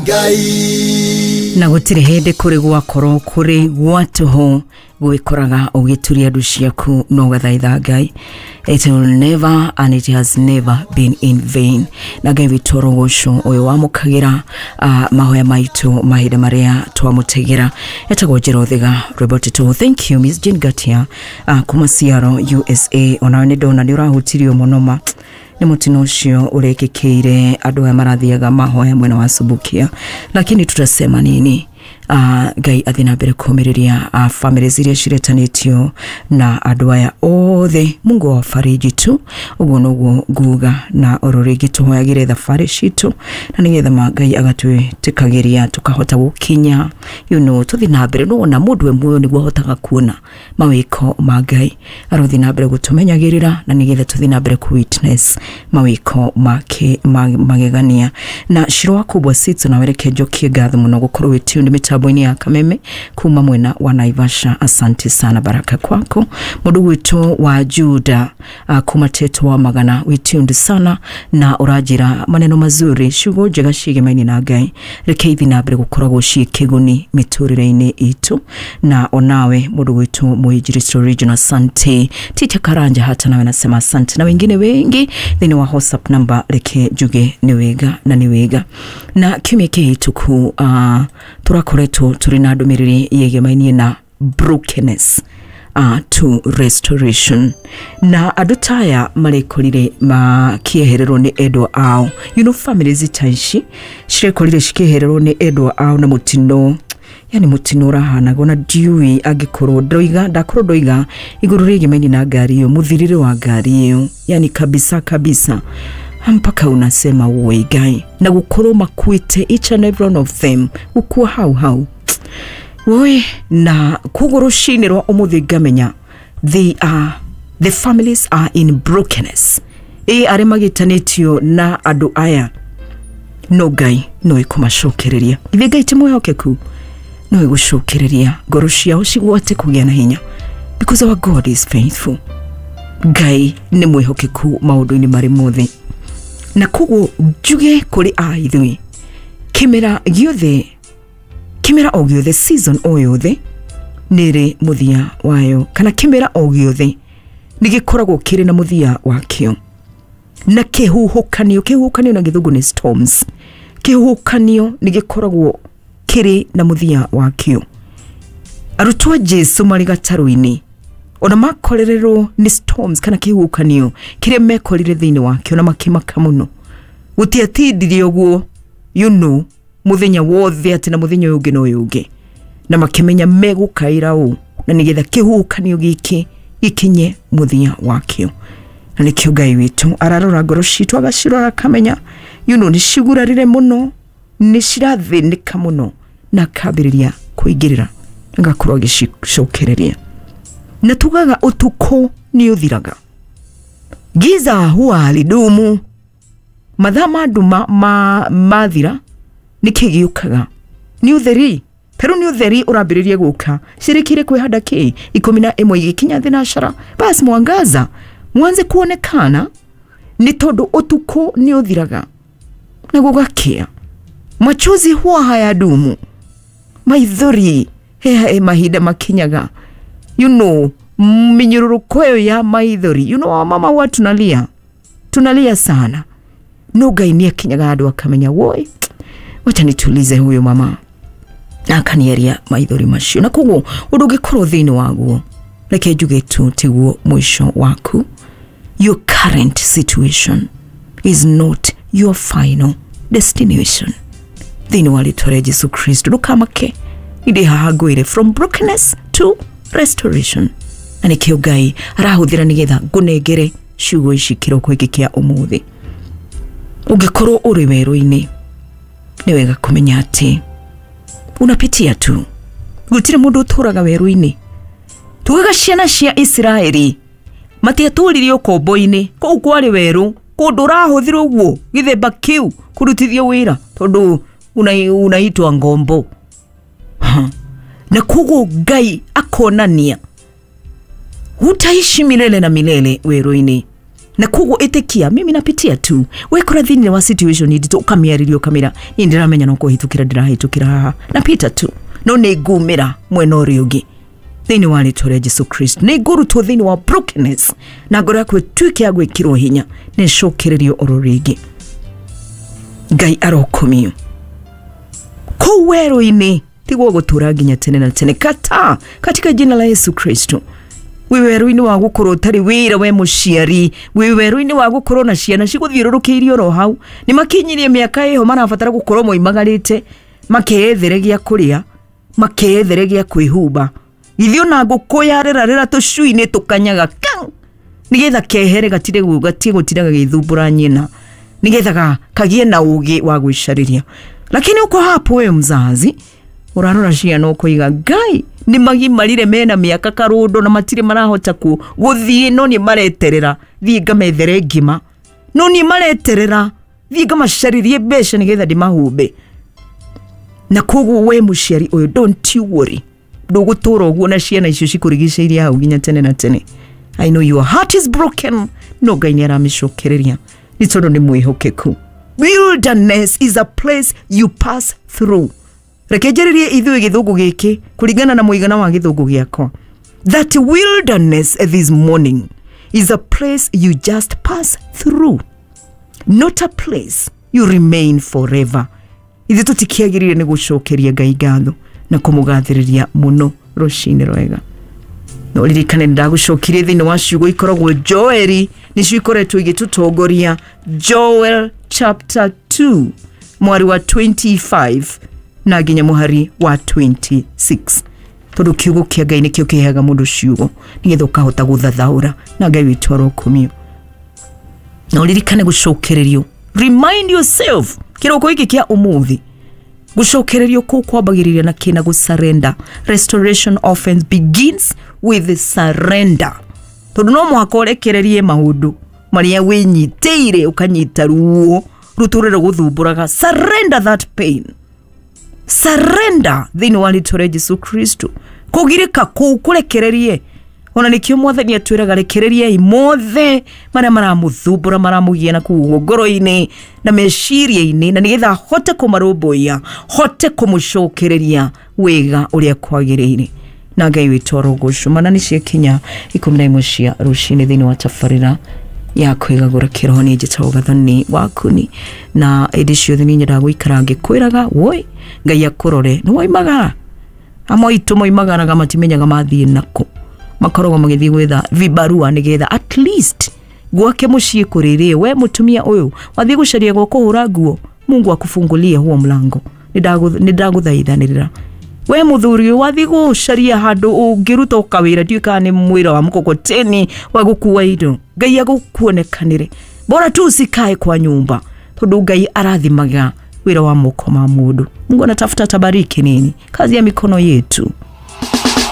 Ngai. Na gũtirĩ hĩndĩ kũrĩ gwakorwo kũrĩ gwa tũhũ gwĩkoraga ũgĩturia ndu ciaku na ũgathaitha Ngai. It will never and it has never been in vain. Na Ngai witũ ũrogocwo ũyũ wamũkagĩra mahoya maitũ mahinda marĩa twamũtegera. Etagwo Njĩra Ũthiga rwĩmbo tũtũ. Thank you, Miss Jane Gatia, kuma Seattle, USA. Onawe nĩ ndona nĩ ũrahutirio mũno ma nĩ mũtino ũcio ũrekĩkĩire andũ aya marathiaga mahoya mwena wa Subukia, lakini tutasema nini? Ngai athiĩ na mbere kũmĩrĩria families iria ciretanĩtio na andũ aya othe. Mungu awafariji tu, ũguo noguo nguga. Na oro rĩngĩ tũhoyagĩre thabarĩ citũ na nĩgetha ma Ngai agatwĩtĩkagĩria tũkahota gũkinya, tũthiĩ na mbere. Nĩwona mũndũ e muoyo nĩguo ahotaga kuona mawĩko ma Ngai. Arothiĩ na mbere gũtũmenyagĩrĩra na nĩgetha tũthiĩ na mbere ku witness mawĩko make magegania. Na Shiro wa Kubwa Sitso, na wereke njokie ngatho mũno gũkorwo wĩ tuned mĩtambo-inĩ ya Kameme kuma mwena wa Naivasha. Asante sana, baraka kwako. Mũndũ gwitũ wa Juda, kuma Teto wa Magana, wĩ tuned sana na ũranjĩra maneno mazuri, ciugo njega ciĩgemaine na Ngai. Reke ithi na mbere gũkoragwo ciĩ kĩguni mĩtũrĩre-inĩ itũ. Na onawe mũndũ gwitũ Mũinjilisti Regional, asante. Ticha Karanja, hata nawe nasema asante, na wengine wengi thĩinĩ wa WhatsApp number. Reke njuge nĩ wega na nĩ wega. Na kiumia kĩhĩtũku tũrakoretwo tũrĩ na ndũmĩrĩri yegemainie na brokenness to restoration, na andũ taya marekorire makĩehererwo nĩ endwa ao. Families ta ici cirekorire cikĩehererwo nĩ endwa ao na mũtino, yani mũtino ũrahanaga ona ndiũĩ angĩkorwo ndoiga ndakorwo ndoiga igũrũ rĩgemaini na ngari ĩyo, mũthirĩre wa ngari ĩyo, yani kabisa kabisa mpaka unasema woi Ngai, na gũkorwo makuĩte each and every one of them, gũkua hau hau woi. Na koguo rũcinĩ rwa ũmũthĩ ngamenya the families are in brokenness, ĩ arĩa magĩtanĩtio na andũ aya, no Ngai no ĩkũmacokereria. Ithe Ngai ti mwĩhokeku, no ĩgũcokereria ngoro ciao cigwate kũgĩa na hinya, because our God is faithful. Ngai nĩ mwĩhokeku maũndũ-inĩ marĩ mothe. Na koguo njuge kũrĩ a ithuĩ, kĩmera gĩothe, kĩmera o gĩothe, season o yothe nĩ ĩrĩ mũthia wayo, kana kĩmera o gĩothe nĩ gĩkoragwo kĩrĩ na mũthia wakĩo. Na kĩhuhũkanio, kĩhuhũkanio na gĩthũngũ nĩ storms, kĩhuhũkanio nĩ gĩkoragwo kĩrĩ na mũthia wakĩo. Arutwo a Jesu marĩ gatarũ-inĩ ona makorererwo nĩ storms kana kĩhuhũkanio kĩrĩa mekorire thĩinĩ wakĩo na makĩmaka mũno. Gũtiatindirie ũguo mũthenya wothe atĩ na mũthenya ũyũ ũngĩ na ũyũ ũngĩ, na makĩmenya megũkaĩra ũ na nĩgetha kĩhuhũkanio gĩkĩ gĩkinye mũthia wakĩo. Na nĩkĩo Ngai witũ ararora ngoro citũ, agacirora akamenya nĩ cigurarire mũno, nĩ cirathĩnĩka mũno, na akambĩrĩria kũingĩrĩra, agakorwo agĩcicokereria. Na tugaga ũtukũ nĩ ũthiraga, giza huwa halidumu. Mathaa ma nduma mathira nĩkĩ gĩũkaga? Nĩ ũtheri. Tarĩu nĩ ũtheri ũrambĩrĩria gũka. Cirĩkire kwĩhanda kĩ 11 igĩkinya thinacara, basi mwangaza mwanze kuonekana, nĩ tondũ ũtukũ nĩ ũthiraga na gũgakĩa. Machozi huwa hayadumu, maithori he mahinda makinyaga, minyururuko ĩyo ya maithori. Wamama huwa tunalia, tunalia sana, no Ngai nĩ akinyaga handũ akamenya, woi, wacha nitulize huyo mama, na akanieria maithori macio. Na koguo ũndũ ũngĩkorwo thĩinĩ waguo, reke njuge tu tiguo mũico waku. Your current situation is not your final destination. Thĩinĩ wa rĩtwa rĩa Jesu Kristo, ndũkamake, ndĩ haha ngwĩre from brokenness to restoration. Na nĩkĩo Ngai arahũthĩra nĩgetha ngũnengere ciugo ici kĩroko gĩkĩ kĩa ũmũthĩ. Ũngĩkorwo ũrĩ werũ-inĩ, nĩ wega kũmenya atĩ unapitia tu, gũtirĩ mũndũ ũtũraga werũ-inĩ. Tugaga ciana cia Isiraeli matiatũririe ũkombo-inĩ, kũu kwarĩ werũ, kũndũ ũrahũthĩrwo ũguo gĩthemba kĩu kũrutithio wĩra tondũ unaitwa ngombo. Na koguo Ngai akonania hutaishi milele na milele werũ-inĩ. Na koguo ĩtĩkia mimi napitia tu. Wekora thĩinĩ wa situation nditũ ũkamĩarĩria ũkamĩra niĩ ndĩramenya no kũhĩtũkĩra ndĩrahĩtũkĩra haha, napita tu, no nĩ ngumĩra mwena ũrĩa ũngĩ thĩinĩ wa rĩtwa rĩa Jesu Kristo. Nĩ ngũrutwo thĩinĩ wa brokenness na ngoro yaku ĩtuĩke ya gwĩkĩrwo hinya na ĩcokererio oro rĩngĩ. Ngai arokomio kũu werũ-inĩ tiguo gũtũra nginya tene na tene, kata katika jina la Yesu Kristo. Wĩ werũ-inĩ wa gũkorwo ũtarĩ wĩra we mũciari, wĩ werũ-inĩ wa gũkorwo na ciana cigũthiũrũrũkĩirie oro hau, nĩ makinyirie mĩaka ĩho marabatara gũkorwo moimagarĩte makeyethere gĩa kũrĩa, makeyethere gĩa kwĩhumba. Githĩ ona ngũkũ yarerarĩra tũcui-inĩ tũkanyaga kang, nĩgetha kehere gatire gatige gũtinda gagĩthumbũra nyina, nĩgetha kagie na ũgĩ wa gwĩcarĩria. Lakini uko hapo we mzazi ũrarora ciana ũkoiga Ngai nĩ magimarire mena mĩaka karũndo na matirĩ marahota gũthiĩ, no nĩ mareterera thiĩ ngamethere ngima, no nĩ mareterera thiĩ ngamacarĩrie mbeca nĩgetha ndĩmahumbe. Na koguo we mũciari ũyũ, don't you worry, ndũgũtũra ũguo na ciana icio cikũrigicĩirie hau nginya tene na tene. I know your heart is broken, no Ngai nĩ aramĩcokereria nĩ tondũ nĩ mwĩhokeku. Wilderness is a place you pass through. Reke njarĩrie ithuĩ gĩthũngũ gĩkĩ kũringana na mũigana wa gĩthũngũ gĩakwa. That wilderness this morning is a place you just pass through, not a place you remain forever. Ithuĩ tũtikĩagĩrĩire nĩ gũcokeria Ngai ngatho na kũmũgathĩrĩria mũno rũcinĩ rwega. No ririkane ndagũcokirie thĩinĩ wa ciugo ikoragwo Joeli, nĩcio ikoretwo igĩtũtongoria. Joel chapter 2 mwari wa 25 na nginya mũhari wa 26, tondũ kiugo kĩa Ngai nĩkĩo kĩheaga mũndũ ciugo nĩgetha ũkahota gũthathaũra, na Ngai witũ arokumio. Na ũririkane gũcokererio, remind yourself kĩroko gĩkĩ kĩa ũmũthĩ, gũcokererio kũu kwambagĩrĩria na kĩna gũsurrender. Restoration often begins with surrender, tondũ no mũhaka ũrekererie maũndũ marĩa wĩnyitĩire ũkanyita ruo rũtũrĩre gũthumbũraga. Surrender that pain, surrender thĩinĩ wa rĩtwa rĩa Jesu Kristo. Kũgirĩka kũu kũrekererie, ona nĩkĩo mwathani atwĩraga rekereriai mothe marĩa maramũthumbũra, maramũgia na kũu ngoro-inĩ na meciria-inĩ, na nĩgetha hote kũmarũmbũiya, hote kũmũcokereria wega ũrĩa kwagĩrĩire. Na Ngai witũ arogocwo. Mana nĩ ciakinya 11 cia rũcinĩ thĩinĩ wa tabarĩra ya kwĩgagũra kĩroho. Niĩ njĩtagwo Gathoni Wakuni, na ĩndĩ ciothe nĩ nyendaga gũikara ngĩkwĩraga woi Ngai akũrore. Nĩ woimagara, amwe aitũ moimagaraga matimenyaga mathiĩ nakũ, makoragwo magĩthiĩ gwetha vibarua nĩgetha at least gwake mũciĩ kũrĩrĩe. We mũtumia ũyũ wathiĩ gũcaria gwa kũhũra nguo, Mungu akufungulie huo mlango. Nĩ ndagũthaithanĩrĩra. We mũthuri ũyũ wathiĩ gũcaria handũ ũngĩruta kawĩra, ndiũĩ kana nĩ mwĩra wa mkokoteni wa gũkua indo, Ngai agũkuonekanĩre. Bora tu usikae kwa nyumba, tondũ Ngai arathimaga wĩra wa moko ma mũndũ. Mungu anatafuta tabariki nini kazi ya mikono yetu.